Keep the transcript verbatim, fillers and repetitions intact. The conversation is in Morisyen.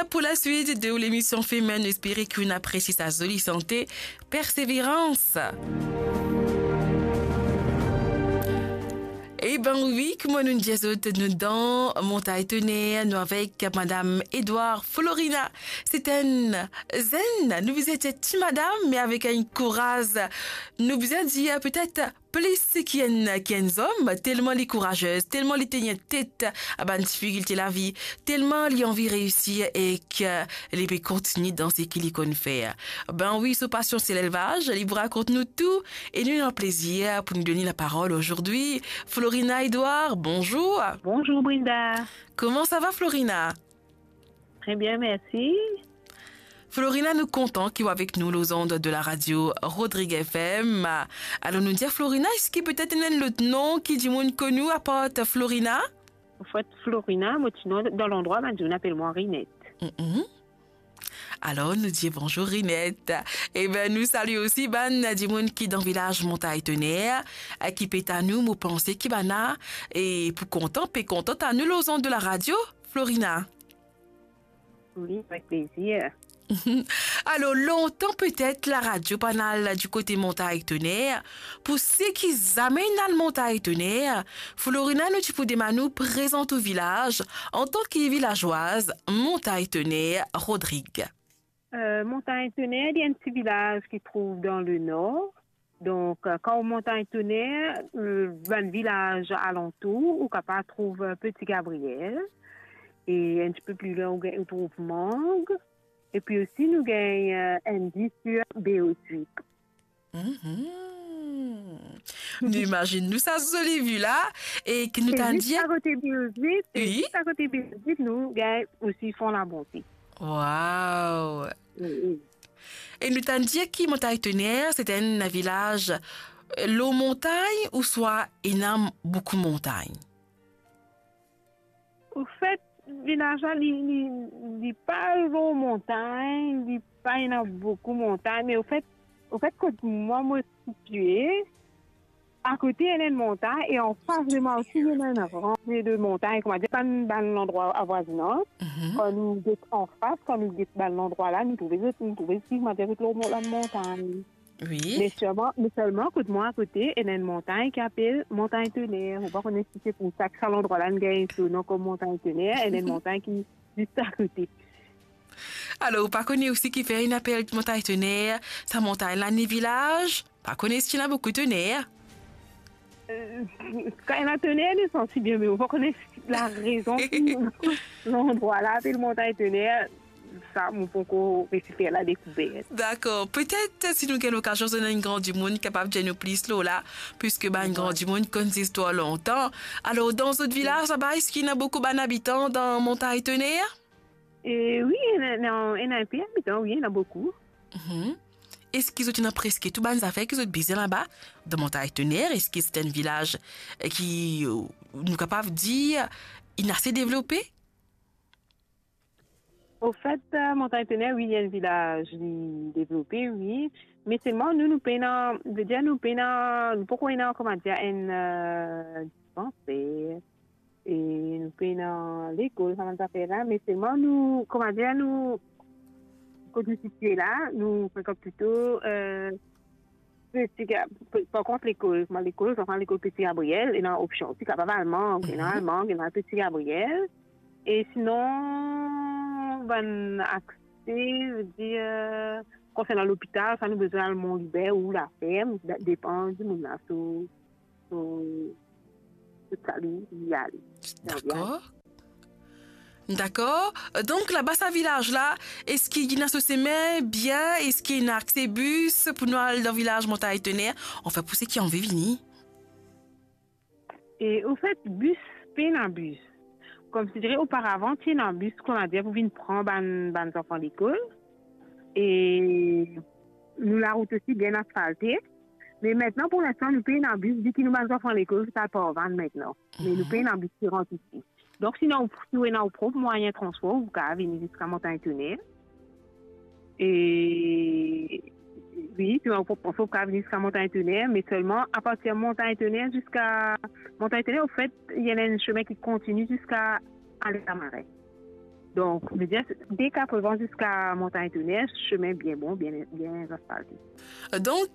Pour la suite de l'émission Femen, nou espere ki ou apresie sa zoli sante, Persévérance. Eben wi, kouma nou dir zot, nou dan Montagn Toner, nou avek Madam Edouard Florina. Se enn zenn, nou bizin dir ti madam, me avek enn kouraz, nou bizin dir petet plis ki enn, ki enn zom, telman li kourazez, telman li teni tet a bann difikilte lavi, telman li anvi reisir ek li pe kontigne dan seki li konn fer. Ben wi, so pasion se lelvaz, li pou rakont nou tou e nou ena plezir pou nou donn li laparol azordi. Florina Edouard, bonzour. Bonzour Brinda. Kouma sa va, Florina? Très bien, merci. Florina, nou kontan ki ou avek nou lor zond de la radio Rodrigue F M. Alor nou dir Florina, eski petet ena enn lot non ki dimoun konn ou apar Florina? Anfet, Florina, mo ti non dan landrwa, bann dimoun apel mwa Rinette. Mhm. Alor nou dir bonzour Rinette. Eben nou salie osi bann dimoun ki dan vilaz Montagn Toner, ki pe tann nou, mo panse ki bann-la, e pou kontan, pe kontan tann nou lor zond de la radio, Florina. Wi, avek plezir. Alor, lontan petet laradio pa'nn al dikote Montagn Toner. Pou seki zame inn al Montagn Toner, Florina, nou ti pou demann ou prezant ou vilaz antan ki vilazwaz Montagn Toner, Rodrigue. Euh, Montagn Toner, li enn ti vilaz ki trouv dan lenor. Donk, euh, kan ou Montagn Toner, euh, bann vilaz alantour, ou kapav trouv, euh, Petit Gabriel. E enn tipe pli lwin, ou gagn, ou trouv Mang. Epi osi, nou gagn, euh, Andy sur B O X. Mhm. Nou imazinn nou sa zoli vi-la, e ki nou tann dir... Zis akote B O X, e wi, zis akote B O X, nou gagn osi Fon Labonte. Waw! Wi, wi. E nou tann dir ki Montagn Toner, se enn vilaz, euh, lor montagn ouswa ena boukou montagn? Anfet, vilaz-la, li, li, li pa lor montagn, li pa ena boukou montagn, me anfet, anfet, kot mwa, mo sitie, akote ena enn montagn e anfas de mwa osi ena enn ranze de montagn, koumadir bann, bann landrwa avwazinaz. Mhm. Kan nou get anfas, kan nou get bann landrwa-la, nou trouve zot, nou trouve zot, koumadir zot lor mo-, bann montagn. Wi. Me selman, me selman kot mwa akote, ena enn montagn ki apel Montagn Toner. Mo pa kone si se pou sa ki sa landrwa-la inn gagn so non kom Montagn Toner, ena enn montagn ki zis akote. Alor, ou pa kone osi kifer inn apel Montagn Toner, sa montagn-la ena vilaz? Pa kone si ena boukou toner. Euh, kan ena toner, nou santi bien, me mo pa kone larezon ki landrwa-la apel Montagn Toner. Sa, mo pankor resi fer ladekouvert. Dakor. Petet, si nou gagn lokazion, zot ena enn gran dimoun kapav dir nou plis lor la, piski bann gran dimoun konn zistwar lontan. Alor, dan zot vilaz laba, eski ena boukou bann abitan dan Montagn Toner? E wi, ena, ena, ena enpe abitan, wi, ena boukou. Mhm. Eski zot ena preske tou bann zafer ki zot bizin laba, dan Montagn Toner? Eski se enn vilaz, eh, ki, eh, nou kapav dir, inn ase devlope? Anfet, eh, Montagn Toner, wi, li enn vilaz, li devlope, wi. Me selman nou, nou pena, vedir nou pena, nou pankor ena, koumadir, enn, eh, dispanser. E nou pena lekol, sa bann zafer-la, me selman nou, koumadir, nou, kot nou sitie la, nou frekant plito, eh, Petit Ga-, pe-, par kont lekol, kouma lekol, zanfan lekol Petit Gabriel, ena opsion osi, kapav al Mang, ena al Mang, ena al Petit Gabriel. E sinon, bann akse, vedir, konsernan lopital, sa nou bizin al Mont Libert ou Laferm, de-, depan dimoun-la, so, so, so sa li, li ale. Dakor. Dakor. Donk, laba sa vilaz-la, eski ena so sime bien? Eski ena akse bis pou nou al dan vilaz Montagn Toner? Anfin, pou seki anvi vini. E, anfet, bis, pena bis. Koumsadire, oparavan, ti ena bis, koumadir, pou vinn pran bann, bann zanfan lekol. E nou larout osi bien asfalte. Me aster, pou linstan, nou pena bis, viki nou bann zanfan lekol, zot al par van aster. Me nou pena bis ki rant isi. Donk, si ou ena, si ou ena ou prop mwayin transpor, ou kapav vini ziska Montagn Toner. E, wi, si ou ena ou prop transpor, ou kapav vini ziska Montagn Toner, me selman, apartir Montagn Toner ziska Montagn Toner, anfet, ena enn sime ki kontini ziska Ale Lamarin. Donk, vedir, de Katrevin ziska Montagn Toner, semin bien bon, bien, bien asfalte. Donk,